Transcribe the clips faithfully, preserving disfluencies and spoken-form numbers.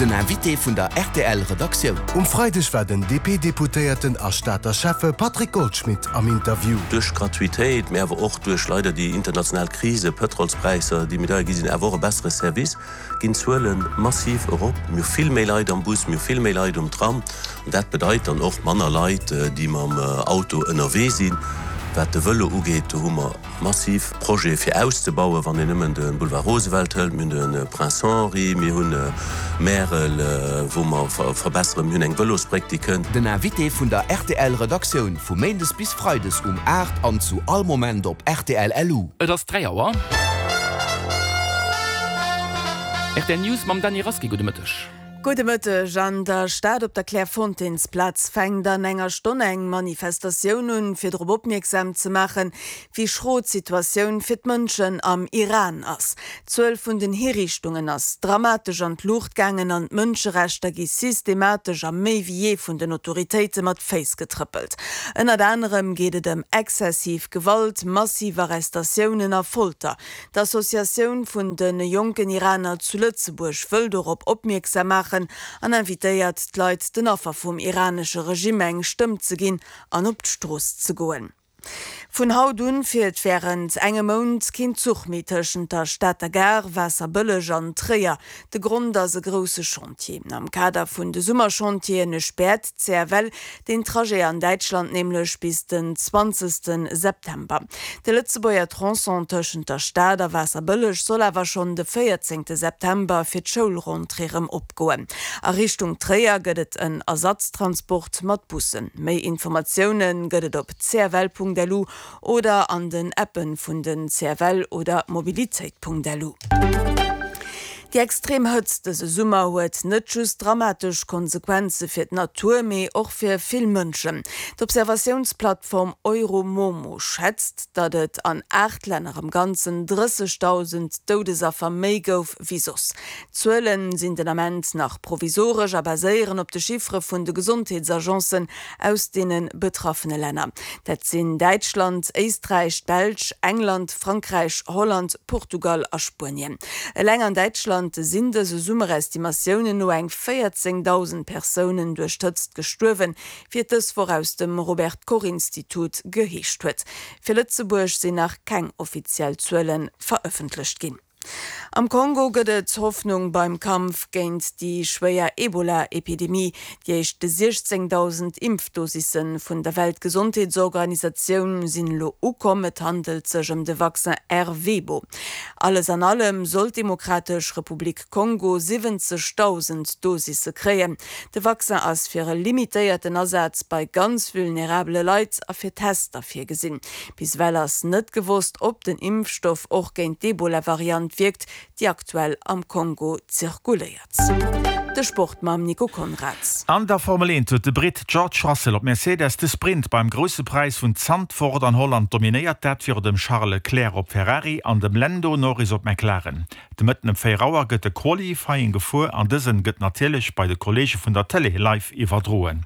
Den Invité vun der R T L Redaktioun. Um Freideg war den D P-Deputéierten a Stater Schäffe Patrick Goldschmidt am Interview. Duerch Gratuitéit, mee awer och duerch leider déi international Krise, Pëtrolspräisser, déi méi deier gi sinn, awer och e bessere Service, ginn d'Zuele massiv erop. Mir hu vill méi Leit am Bus, mir hu vill méi Leit um Tram. An dat bedeit dann och manner Leit, déi mam Auto ënnerwee sinn. Wat de Vëlo ugeet, do hu mer massiv Projete fir auszebauen, wann een nëmmen de Boulevard Roosevelt hëlt, mir hunn de Prince Henri, mir hunn Märel, wou mer verbesseren, mir hunn eng Vëlosbréck, déi kënnt. Den Invité vun der R T L Redaktioun vu Méindes bis Freides um aacht an zu all Moment op R T L L U. Et ass dräi Auer. R T L News mam Dany Rasqué. Gudde Mëtteg. Gudde Mëtteg. An der Stad op der Clairefontaines-Plaz fänkt an enger Stonn eng Manifestatioun un, fir drop opmierksam ze maachen, wéi schro d'Situatioun fir d'Mënschen am Iran ass. D'Zuel vun den Hiriichtungen ass dramatesch an d'Luucht gaangen an d'Mënscherechter gi systematesch a méi wéi jee vun den Autoritéite mat Féiss getrëppelt. Ënnert anerem geet et ëm exzessiv Gewalt, massiv Arrestatiounen a Folter. D'Associatioun vun de jonken Iraner zu Lëtzebuerg wëll dorop opmierksam maachen an invitéiert d'Leit, den Affer vum iranesche Regime eng Stëmm ze ginn an op d'Strooss ze goen. Vun haut un fiert wärend engem Mount keen Zuch méi tëschent der Stater Gare, Waasserbëlleg an Tréier. De Grond ass e grousse Chantier. Am Kader vun de Summerchantieren späert d'C F L den Trajet an Däitschland nämlech bis den zwanzegste September. De Lëtzebuerger Tronçon tëschent der Stad a Waasserbëlleg soll awer schonn de véierzéngte September fir d'Schoulrentrée rëm opgoen. A Richtung Tréier gëtt et en Ersatztransport mat Bussen. Méi Informatioune gëtt et op C F L Punkt L U oder an den Appen vun den C F L oder mobilitéit Punkt L U. Déi extrem Hëtzt dëse Summer huet net just dramatesch Konsequenze fir d'Natur, mee och fir vill Mënschen. D'Observatiounsplattform Euromomo schätzt, datt et an aacht Länner am Ganzen drëssegdausend Doudesaffer méi gouf wéi soss. D'Zuele sinn den Ament nach provisoresch a baséieren op de Chiffere vun de Gesondheetsagencen aus deene betraffene Länner. Dat sinn Däitschland, Éisträich, Belsch, England, Frankräich, Holland, Portugal a Spuenien. Eleng an Däitschland sinn dëse Summer Estimatiounen no eng véierzéngdausend Persounen duerch d'Hëtzt gestuerwen, wéi et dës Woch aus dem Robert Koch Institut geheescht huet. Fir Lëtzebuerg sinn nach keng offiziell Zuele verëffentlecht ginn. Am Kongo gëtt et Hoffnung beim Kampf géint déi schwéier Ebola-Epidemie. Déi éischt siechzéngdausend Impfdosisse vun der Weltgesondheetsorganisatioun sinn elo ukomm. Et handelt sech ëm de Vaccin Ervebo. Alles an allem soll d'Demokratesch Republik Kongo siwwenzegdausend Dosisse kréien. De Vaccin ass fir e limitéierten Asaz bei ganz vulnerabele Leit a fir Tester virgesinn. Bis ewell ass net gewosst, ob den Impfstoff och géint d'Ebola-Variant wierkt, déi aktuell am Kongo zirkuléiert. De Sport mam Nico Konrads. An der Formel eent huet de Britt George Russell op Mercedes de Sprint beim Grousse Präis vun Zandvoort an Holland dominéiert, dat virun dem Charles Leclerc op Ferrari an dem Lando Norris op McLaren. De Mëtten um véier Auer gëtt de Qualifying gefuer an dësen gëtt natierlech bei de Kolleege vun der Tëlee live iwwerdroen.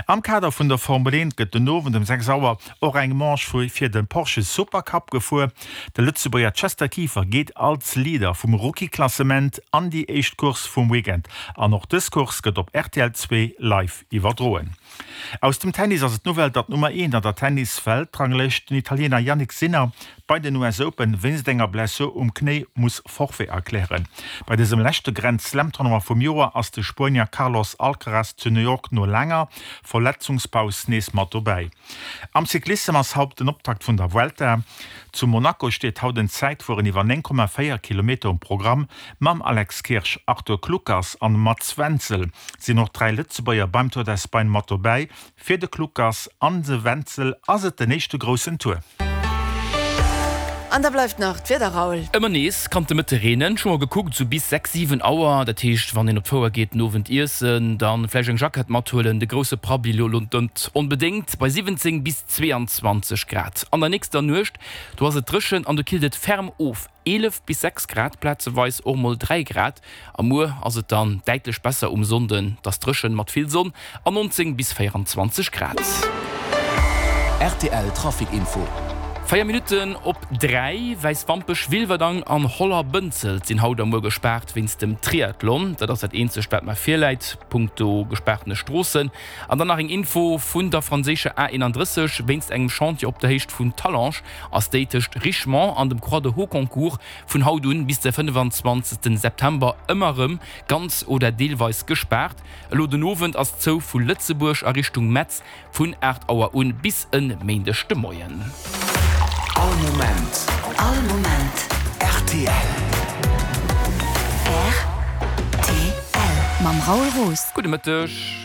Am Kader vun der Formel eent gëtt den Owend um sechs Auer och eng Manche fir de Porsche Supercup gefuer. De Lëtzebuerger Chester Kieffer geet als Leader vum Rookie-Klassement an déi éischt Course vum Weekend. An och dës Course gëtt op R T L zwee live iwwerdroen. Aus dem Tennis ass et d'Nouvelle, datt d'Nummer eent an der Tennis-Weltranglëscht, den Italiener Jannik Sinner, bei den U S Open wéinst enger Blessur um Knéi muss Forfait erklären. Bei dësem leschte Grand Slam Tournoi vum Joer ass de Spuenier Carlos Alcaraz zu New York no laanger Verletzungspaus nees mat dobäi. Am Cyclissem ass haut den Optakt vun der Vuelta. Zu Monaco steet haut en Zäitfueren iwwer néng Komma véier Kilometer um Programm. Mam Alex Kirsch, Arthur Kluckers an Mats Wenzel sinn och dräi Lëtzebuerger beim Tour d'Espagne mat dobäi. Fir de Kluckers an de Wenzel ass et den éischte groussen Tour. An da bleift nach d'Wieder, Raoul. Ëmmer nees kann et de Mëtte reenen. Ech hu mol gekuckt, sou bis sechs, siwen Auer. Dat heescht, wann een op d'Fouer geet den Owend iessen, dann vläicht eng Jackett mathuelen. De grousse Prabbeli lo net onbedéngt. Bei siwwenzéng bis zweeanzwanzeg Grad. An der nächster Nuecht, do ass et dréchen an do killt et ferm of, eelef bis sechs Grad, plazeweis och mol dräi Grad. A muer ass et dann däitlech besser um Sonnden, et ass dréchen mat vill Sonn an nonzéng bis véieranzwanzeg Grad. R T L Trafic Info. Véier Minutten op dräi, Wäiswampech, Wilwerdang an Holler-Bënzelt sinn haut a muer gespaart wéinst dem Triathlon. Dat ass dat eenzegt, wat mer virläit punkto gespaartene Stroossen. An dann nach eng Info vun der franséischer A eenandrësseg, Wéinst engem Chantier op der Héicht vun Talange ass déi tëscht Richemont an dem Croix de Hauconcourt vun haut un bis de fënnefenzwanzegsten September ëmmer erëm ganz oder deelweis gespaart. Elo den Owend ass zou vu Lëtzebuerg a Richtung Metz vun aacht Auer un bis e Méindeg de Moien. All Moment. All Moment. Rtl. Rtl. Mam Raoul Roos. Gudde Mëtteg.